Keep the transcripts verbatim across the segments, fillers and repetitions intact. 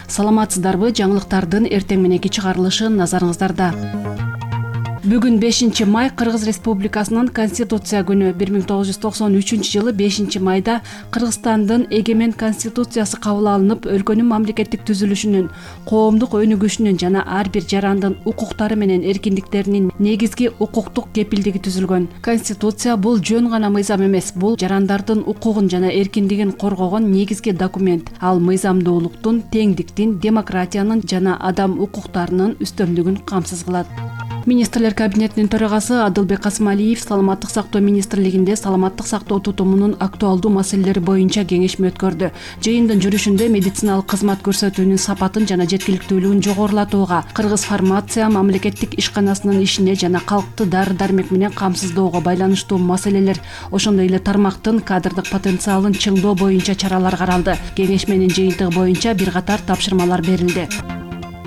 Саламатсыздарбы? Жаңылыктардын эртең мененки чыгарылышы назарыңыздарда. Бүгүн бешинчи май Кыргыз Республикасынын Конституция күнү. бир миң тогуз жүз токсон үчүнчү жылы бешинчи майда Кыргызстандын эгемен конституциясы кабыл алынып, өлкөнүн мамлекеттик түзүлүшүнүн, коомдук өнүгүшүнүн жана ар бир жарандын укуктары менен эркиндиктеринин негизги укуктук кепилдиги түзүлгөн. Конституция бул жөн гана мыйзам эмес, бул жарандардын укугун жана эркиндигин коргогон негизги документ. Ал мыйзамдуулуктун, теңдиктин, демократиянын жана адам укуктарынын үстөмдүгүн камсыз кылат. Министрлер кабинетинин төрагасы Адылбек Касымалиев Саламаттык сактоо министрлигинде саламаттык сактоо тутумунун актуалдуу маселелери боюнча кеңешме өткөрдү. Жыйындын жүрүшүндө медициналык кызмат көрсөтүүнүн сапатын жана жеткиликтүүлүгүн жогорулатууга, Кыргыз фармация мамлекеттик ишканасынын ишине жана калкты дары-дармек менен камсыздоого байланыштуу маселелер, ошондой эле тармактын кадрдык потенциалын чыңдоо боюнча чаралар каралды. Кеңешменин жыйынтыгы боюнча бир катар тапшырмалар берилди.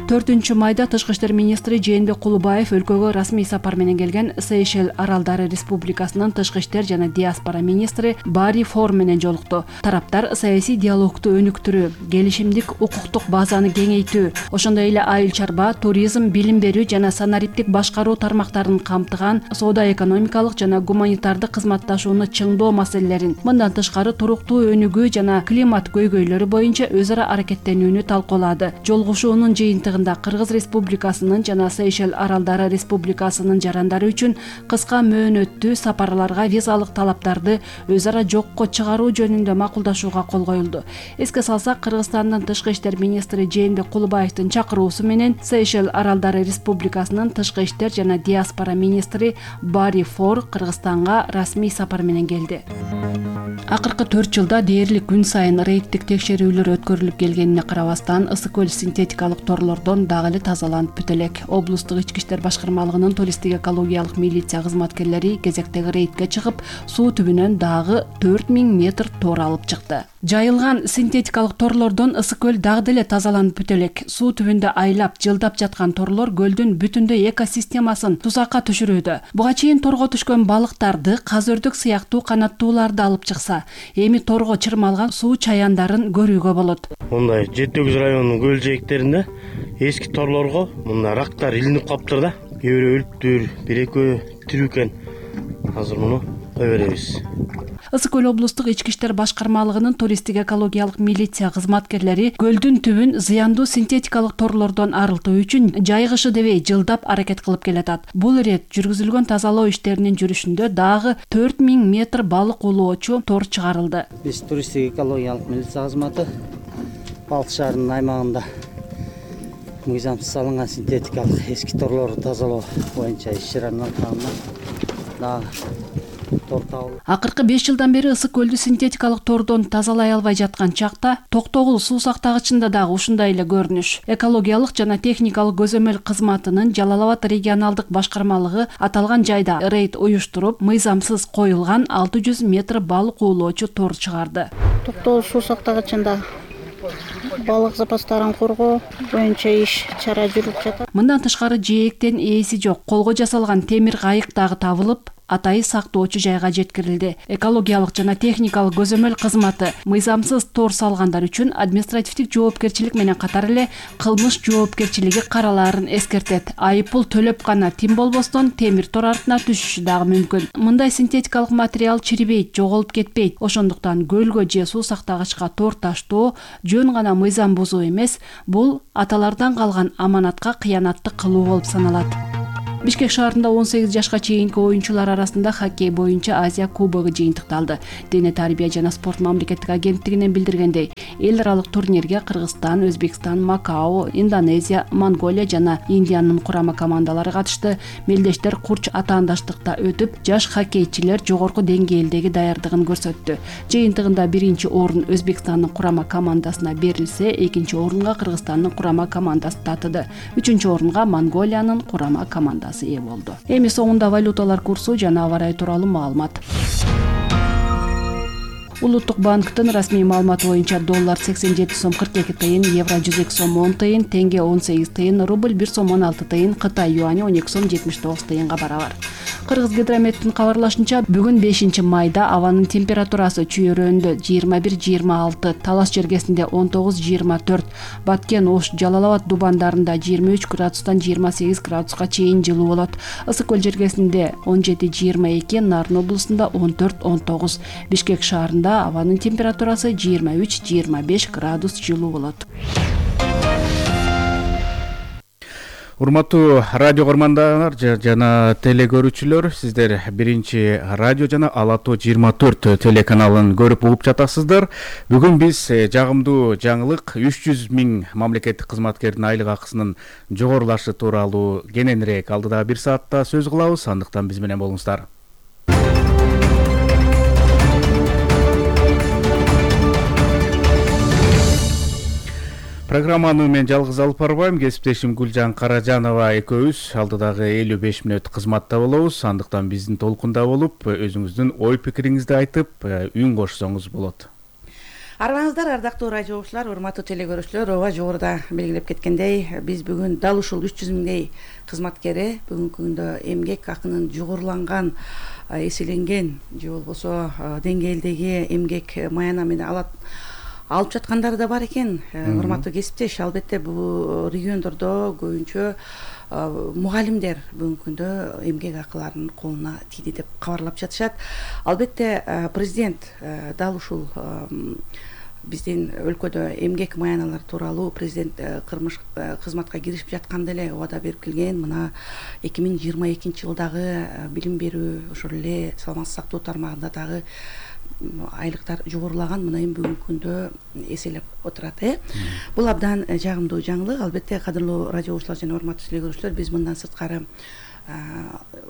төртүнчү майда Тышкы иштер министри Жээнбек Кулубаев өлкөгө расмий сапар менен келген Сейшел Аралдары Республикасынын тышкы иштер жана диаспора министри Бари Фор менен жолукту. Тараптар саясий диалогду өнүктүрүү, келишимдик укуктук базаны кеңейтүү, ошондой эле айыл чарба, туризм, билим берүү жана санариптик башкаруу тармактарын камтыган соода-экономикалык жана гуманитардык кызматташууну чыңдоо маселелерин, мындан тышкары туруктуу өнүгүү жана климат көйгөйлөрү боюнча өз ара аракеттенүүнү талкуулады. Жолугушуунун жыйынтыгы Кыргыз Республикасынын жана Сейшел Аралдары Республикасынын жарандары үчүн кыска мөөнөттүү сапарларга визалык талаптарды өз ара жокко чыгаруу жөнүндө макулдашууга кол коюлду. Эске салсак, Кыргызстандын тышкы иштер министри Жээнбек Кулубаевдин чакыруусу менен Сейшел Аралдары Республикасынын тышкы иштер жана диаспора министри Бари Фор Кыргызстанга расмий сапар менен келди. Акыркы төрт жылда дээрлик күн сайын рейдтик текшерүүлөр өткөрүлүп келгенине карабастан, Ысык көл синтетикалык торлордон дагы эле тазаланып бүтө элек. Облустук ички иштер башкармалыгынын туристтик экологиялык милиция кызматкерлери кезектеги рейдке чыгып, суу түбүнөн дагы төрт миң метр тор алып чыкты. Жайылган синтетикалык торлордон Ысык көл дагы деле тазаланып бүтө элек. Суу түбүндө айлап, жылдап жаткан торлор көлдүн бүтүндөй экосистемасын тузакка түшүрүүдө. Буга чейин торго түшкөн балыктарды, каз-өрдүк сыяктуу канаттууларды алып чыкса, эми торго чырмалган суу чаяндарын көрүүгө болот. Мындай жети сегиз районунун көл жээктеринде эски торлорго мына рактар илинип калыптыр да. Кээ бирөө өлүптүр, бир экөө тирүү экен. Азыр муну кое беребиз. Ысык көл облустук ички иштер башкармалыгынын туристтик экологиялык милиция кызматкерлери көлдүн түбүн зыяндуу синтетикалык торлордон арылтуу үчүн жайгышы дебей жылдап аракет кылып келатат. Бул ирет жүргүзүлгөн тазалоо иштеринин жүрүшүндө дагы төрт миң метр балык улоочу тор чыгарылды. Биз туристтик экологиялык милиция кызматы Балык шаарынын аймагында мыйзамсыз салынган синтетикалык эски торлорду тазалоо боюнча иш-чаранын алкагында дагы тор табылды. Акыркы беш жылдан бери Ысык көлдү синтетикалык тордон тазалай албай жаткан чакта Токтогул суу сактагычында дагы ушундай эле көрүнүш. Экологиялык жана техникалык көзөмөл кызматынын Жалал Абад регионалдык башкармалыгы аталган жайда рейд уюштуруп, мыйзамсыз коюлган алты жүз метр балык уулоочу тор чыгарды. Токтогул суу сактагычында балык запастарын коргоо боюнча иш чара жүрүп жатат. Мындан тышкары жээктен ээси жок, колго жасалган темир кайык дагы табылып, атайы сактоочу жайга жеткирилди. Экологиялык жана техникалык көзөмөл кызматы мыйзамсыз тор салгандар үчүн административдик жоопкерчилик менен катар эле кылмыш жоопкерчилиги каралаарын эскертет. Айыппул төлөп гана тим болбостон темир тор артына түшүшү дагы мүмкүн. Мындай синтетикалык материал чирибейт, жоголуп кетпейт. Ошондуктан көлгө же суу сактагычка тор таштоо жөн гана мыйзам бузуу эмес, бул аталардан калган аманатка кыянаттык кылуу болуп саналат. Бишкек шаарында он сегиз жашка чейинки оюнчулар арасында хоккей боюнча Азия кубогу жыйынтыкталды. Дене тарбия жана спорт мамлекеттик агенттигинен билдиргендей, эл аралык турнирге Кыргызстан, Өзбекстан, Макао, Индонезия, Монголия жана Индиянын курама командалары катышты. Мелдештер курч атаандаштыкта өтүп, жаш хоккейчилер жогорку деңгээлдеги даярдыгын көрсөттү. Жыйынтыгында биринчи орун Өзбекстандын курама командасына берилсе, экинчи орунга Кыргызстандын курама командасы татыды. Үчүнчү орунга Монголиянын курама командасы ээ болду. Эми соңунда валюталар курсу жана аба ырайы тууралуу маалымат. Улуттук банктын расмий маалыматы боюнча доллар сексен жети сом кырк эки тыйын, евро жүз эки сом он тыйын, тенге он сегиз тыйын, рубль бир сом он алты тыйын, Кытай юани он эки сом жетимиш тогуз тыйынга барабар. Кыргызгидрометтин кабарлашынча, бүгүн бешинчи майда абанын температурасы Чүй-Өрөөндө жыйырма бир жыйырма алты, Талас жергесинде он тогуз жыйырма төрт, Баткен, Ош, Жалал Абад дубандарында жыйырма үч градустан жыйырма сегиз градуска чейин жылуу болот. Ысык көл жергесинде он жети жыйырма эки, Нарын облусунда он төрт он тогуз, Бишкек шаарында абанын температурасы жыйырма үч жыйырма беш градус жылуу болот. Урматтуу радио көрмандар жана телекөрүүчүлөр, сиздер биринчи радио жана Ала Тоо жыйырма төрт телеканалын көрүп угуп жатасыздар. Бүгүн биз жагымдуу жаңылык үч жүз миң мамлекеттик кызматкердин айлык акысынын жогорулашы тууралуу кененирээк алдыдагы бир саатта сөз кылабыз. Андыктан биз менен болуңуздар. Программаны мен жалгыз алып барбайм. Кесиптешим Гүлжан Каражанова экөөбүз алдыдагы элүү беш мүнөт кызматта болобуз. Андыктан биздин толкунда болуп, өзүңүздүн ой пикириңизди айтып, үн кошсоңуз болот. Арбаңыздар, ардактуу радио окуучулар, урматтуу телекөрүүчүлөр, ооба жогоруда белгилеп кеткендей, биз бүгүн дал ушул үч жүз миңдей кызматкери бүгүнкү күндө эмгек акынын жогоруланган, эселенген же болбосо деңгээлдеги эмгек маяна менен алат алып жаткандары да бар экен. Урматтуу кесиптеш, албетте бул региондордо көбүнчө мугалимдер бүгүнкү күндө эмгек акыларынын колуна тийди деп кабарлап жатышат. Албетте президент дал ушул биздин өлкөдө эмгек маяналар тууралуу президент кырмыш кызматка киришип жатканда эле убада берип келген. Мына эки миң жыйырма экинчи жылдагы билим берүү, ошол эле саламаттык сактоо тармагында дагы айлыктар жогорулаган. Мына эми бүгүнкү күндө эселеп отурат. э Бул абдан жагымдуу жаңылык. Албетте, кадырлуу радио окуучулар жана урматтуу телекөрүүчүлөр, биз мындан сырткары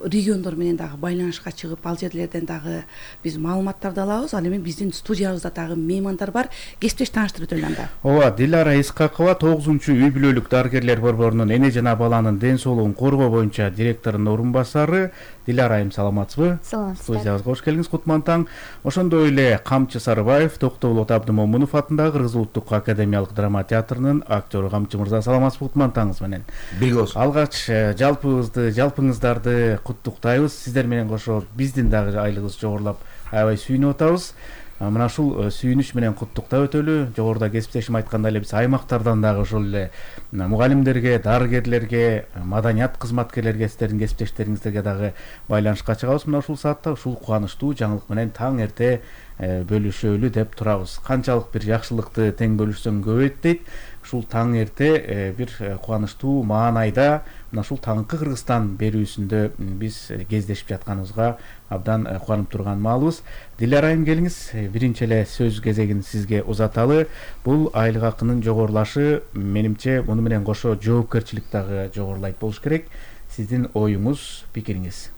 региондор менен дагы байланышка чыгып, ал жерлерден дагы биз маалыматтарды алабыз. Ал эми биздин студиябызда дагы меймандар бар. Кесиптеш тааныштырып өтөлү анда. Ооба, Дилара Исхакова, тогузунчу үй бүлөлүк дарыгерлер борборунун эне жана баланын ден соолугун коргоо боюнча директорунун орун басары. Дилара айым, саламатсызбы? Саламатсыздар. Студиябызга кош келиңиз, кутман таң. Ошондой эле Камчы Сарыбаев, Токтогул Абдымомунов атындагы Кыргыз улуттук академиялык драма театрынын актеру. Камчы мырза, саламатсызбы? Кутман таңыңыз менен. Бигос. Алгач жалпыбызды, жалпыңыздарды куттуктайбыз. Сиздер менен кошо биздин дагы айлыгыбыз жогорулап, аябай сүйүнүп атабыз. Мына ушул сүйүнүч менен куттуктап өтөлү. Жогоруда кесиптешим айткандай эле, биз аймактардан дагы ошол эле мугалимдерге, дарыгерлерге, маданият кызматкерлерге, сиздердин кесиптештериңиздерге дагы байланышка чыгабыз. Мына ушул саатта ушул кубанычтуу жаңылык менен таң эрте бөлүшөлү деп турабыз. Канчалык бир жакшылыкты тең бөлүшсөң көбөйт дейт. Ушул таң эрте бир кубанычтуу маанайда мына ушул таңкы Кыргызстан берүүсүндө биз кездешип жатканыбызга абдан кубанып турган маалыбыз. Дилара айым, келиңиз, биринчи эле сөз кезегин сизге узаталы. Бул айлык акынын жогорулашы, менимче, муну менен кошо жоопкерчилик дагы жогорулайт болуш керек. Сиздин оюңуз, пикириңиз.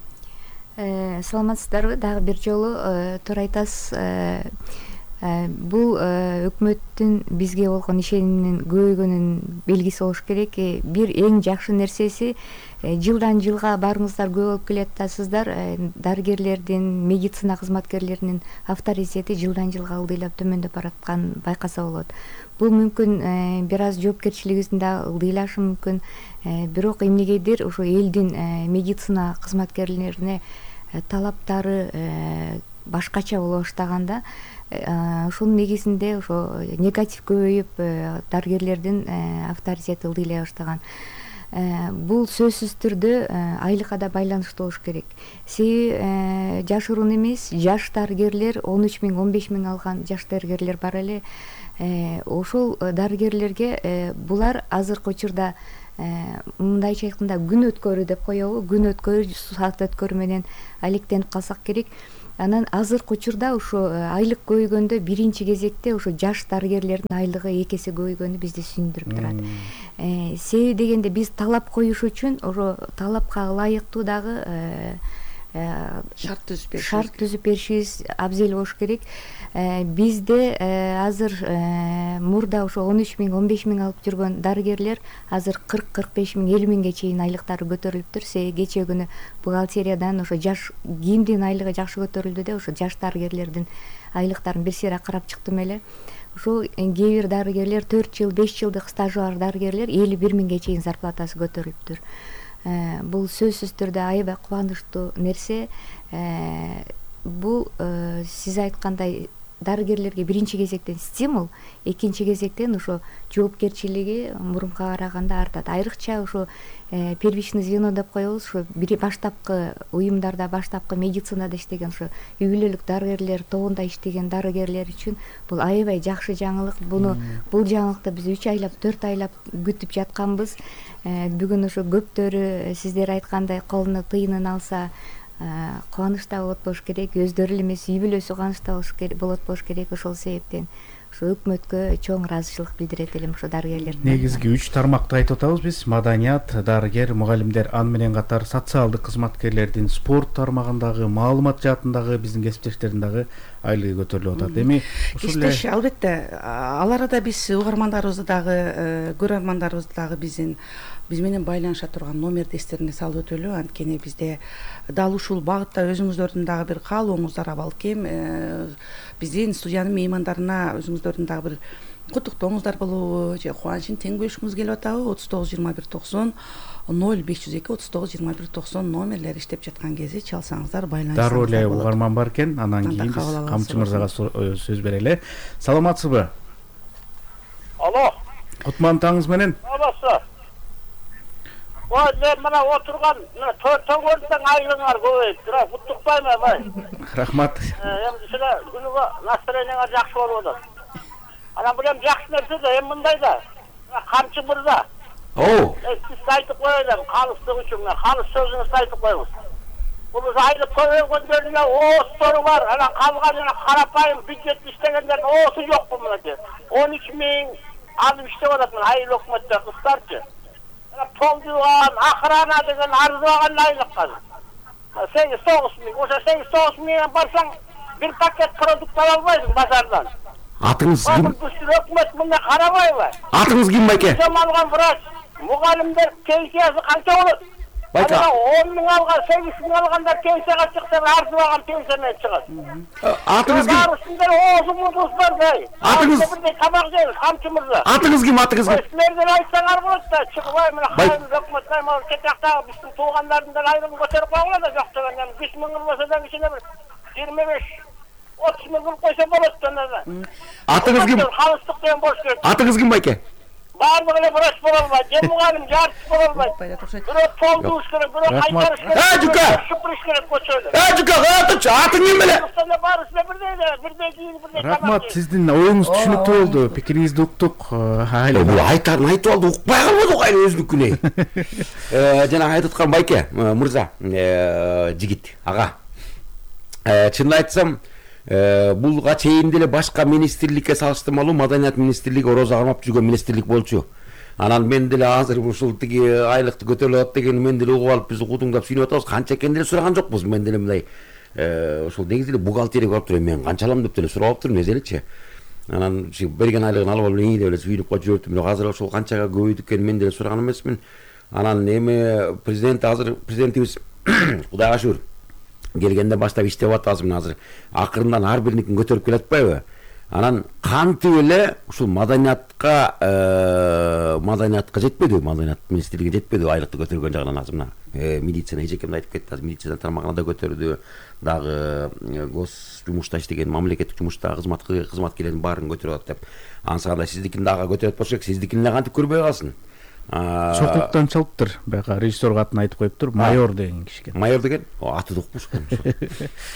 Саламатсыздарбы? Дагы бир жолу туура айтасыз. Бул өкмөттүн бизге болгон ишениминин көбөйгөнүнүн белгиси болуш керек. Бир эң жакшы нерсеси, жылдан жылга барыңыздар көп болуп келатасыздар. Дарыгерлердин, медицина кызматкерлеринин авторитети жылдан жылга ылдыйлап төмөндөп баратканын байкаса болот. Бул мүмкүн бир аз жоопкерчилигибиздин да ылдыйлашы мүмкүн. Бирок эмнегедир ошо элдин медицина кызматкерлерине талаптары башкача боло баштаганда, ушунун негизинде ошо негатив көбөйүп, дарыгерлердин авторитети ылдыйлай баштаган. Бул сөзсүз түрдө айлыкка да байланыштуу болуш керек. Себеби жашыруун эмес, жаш дарыгерлер, он үч миң он беш миң алган жаш дарыгерлер бар эле. Ошол дарыгерлерге булар азыркы учурда мындайча айтканда күн өткөрүү деп коебу, күн өткөрүү, саат өткөрүү менен алектенип калсак керек. Анан азыркы учурда ошо айлык көбөйгөндө биринчи кезекте ошо жаш дарыгерлердин айлыгы эки эсе көбөйгөнү бизди сүйүндүрүп турат. Себеби дегенде биз талап коюш үчүн ошо талапка ылайыктуу дагы шарт түзүп беришибиз шарт түзүп беришибиз абзел болуш керек. Бизде азыр мурда ошо он үч миң он беш миң алып жүргөн дарыгерлер азыр кырк кырк беш миң элүү миңге чейин айлыктары көтөрүлүптүр. Себеби кечээ күнү бухгалтериядан ошо жаш кимдин айлыгы жакшы көтөрүлдү деп ошо жаш дарыгерлердин айлыктарын бир сыйра карап чыктым эле. Ошо кээ бир дарыгерлер төрт жыл беш жылдык стажы бар дарыгерлер элүү бир миңге чейин зарплатасы көтөрүлүптүр. бул сөзсүз түрдө аябай кубанычтуу нерсе. Бул сиз айткандай дарыгерлерге биринчи кезектен стимул, экинчи кезектен ошо жоопкерчилиги мурунка караганда артат. Айрыкча ошо первичный звено деп коебуз, ошо бир баштапкы уюмдарда, баштапкы медицинада иштеген, ошо үй бүлөлүк дарыгерлер тобунда иштеген дарыгерлер үчүн бул аябай жакшы жаңылык. Буну бул жаңылыкты биз үч айлап, төрт айлап күтүп жатканбыз. Бүгүн ошо көптөрү сиздер айткандай колуна тыйынын алса кубанычта болот болуш керек, өздөрү эле эмес үй бүлөсү кубанычта болот болуш керек. Ошол себептен ошо өкмөткө чоң ыраазычылык билдирет элем ошо дарыгерлердин. Негизги үч тармакты айтып атабыз биз: маданият, дарыгер, мугалимдер, аны менен катар социалдык кызматкерлердин спорт тармагындагы, маалымат жаатындагы биздин кесиптештердин дагы айлыгы көтөрүлүп атат. Эми кесиптеш албетте ал арада биз угармандарыбызды дагы, көрөрмандарыбызды дагы биздин биз менен байланыша турган номерди эстерине салып өтөлү. Анткени бизде дал ушул багытта өзүңүздөрдүн дагы бир каалооңуздар, балким биздин студиянын меймандарына өзүңүздөрдүн дагы бир куттуктооңуздар болобу же кубанычын тең бөлүшкүңүз келип атабы? отуз тогуз жыйырма бир токсон ноль беш жүз эки отуз тогуз жыйырма бир токсон номерлери иштеп жаткан кезде чалсаңыздар, байланышсаңыздар болот. Дароо эле угарман бар экен. Анан кийин биз Камчы мырзага сөз берели. Саламатсызбы? Алло. Кутман таңыңыз менен. Албасы. Ой, мен мына отурган төңгөлдөн айлыңар көбөйүп тура, куттуктайм бай. Рахмат. Эми силе күнүгө настроениеңер жакшы болуп атат. Анан бул эми жакшы нерсе да, эми мындай да. Камчы мырза. О. Сиз айтып коелем, калыстык үчүн, калыс сөзүңүздү айтып коюңуз. Бул айлык көбөйгөндөрдүн оостору бар, анан калганына карапайым бюджет иштегендердин оосу жокпу мынакей. он үч миң алып иштеп атат мына айыл өкмөттө кыздарчы. Толдуган, охрана деген арзыбаган айлык казыр. сегиз тогуз миң, ошо сегиз тогуз миңден барсаң бир пакет продукт ала албайсың базардан. Атыңыз ким? Өкмөт мында карабайбы? Атыңыз ким байке? Жам алган врач, мугалимдер пенсиясы канча болот? Байка. он миң алган, сегиз миң алгандар пенсияга чыкса, арзыбаган пенсия менен чыгат. Атыңыз ким? Барысында оозуңуз бар бай. Атыңыз бирдей табак жейбиз, Камчы мырза. Атыңыз ким? Атыңыз ким? Силерден айтсаңар болот да, чыгыбай мына кайын өкмөттөн могу кетактагы биздин туугандардын да айрым көтөрүп койгула да, жок дегенден беш миң болсо да кичине бир жыйырма беш отуз миң кылып койсо болот да. Атыңыз ким? Калыстык деген болуш керек. Атыңыз ким байке? Баардыгы эле врач боло албайт, же мугалим, же артист боло албайт. Бирөө толдуш керек, бирөө кайтарыш керек. Э, Жука! Шупуриш керек көчөдө. Э, Жука, атыңчы, атың ким эле? Барысында бирдей эле, бирдей кийин, бирдей табак. Рахмат, сиздин оюңуз түшүнүктүү болду. Пикириңизди уктук. Айла бул айтарын айтып алды, укпай калбадык айла өзүнүкүнө. Э, жана айтып аткан байке, мырза, жигит, ага. Э, чынын айтсам, булга чейин деле башка министрликке салыштырмалуу маданият министрлиги орозо кармап жүргөн министрлик болчу. Анан мен деле азыр ушул тиги айлыкты көтөрүлүп атат деген мен деле угуп алып биз кудуңдап сүйүнүп атабыз. Канча экенин деле сураган жокпуз. Мен деле мындай ушул негизи эле бухгалтерия көрүп туруп мен канча алам деп деле сурап алып турмун эзелечи. Анан берген айлыгын алып алып эңийлеп эле сүйүнүп коюп жүрөптүм. Бирок азыр ошол канчага көбөйдү экен мен деле сураган эмесмин. Анан эми президент азыр президентибиз Кудайга шүгүр келгенде баштап иштеп атабыз мына азыр. Акырындан ар бириникин көтөрүп келатпайбы? Анан кантип эле ушул маданиятка маданиятка жетпеди, маданият министрлиги жетпеди айлыкты көтөргөн жагынан азыр мына милиция эжекемди айтып кетти, азыр милиция тармагына да көтөрдү, дагы гос жумушта иштеген мамлекеттик жумушта кызмат кызматкерлердин баарын көтөрүп атат деп. Ансаганда сиздикин дагы көтөрөт болсо керек, сиздикин эле кантип көрбөй калсын. Сокулуктан чалыптыр. Бага режиссерга атын айтып коюптур. Майор деген киши экен. Майор деген? Аты да укпушкан.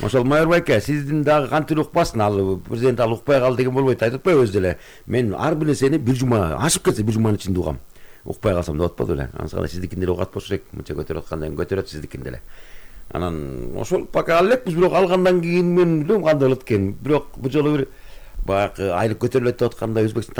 Ошол майор байке, сиздин дагы кантип укпасын, ал президент ал укпай калды деген болбойт, айтып атпайбы өзү деле. Мен ар бир нерсени бир жума ашып кетсе бир жуманын ичинде угам. Укпай калсам деп атпады беле. Ансаганда сиздикин деле угат болсо керек, мынча көтөрүп аткандан кийин көтөрөт сиздикин деле. Анан ошол пока ал элекпиз, бирок алгандан кийин мен билбейм кандай болот экен. Бирок бул жолу бир баягы айлык көтөрүлөт деп атканда Өзбекстан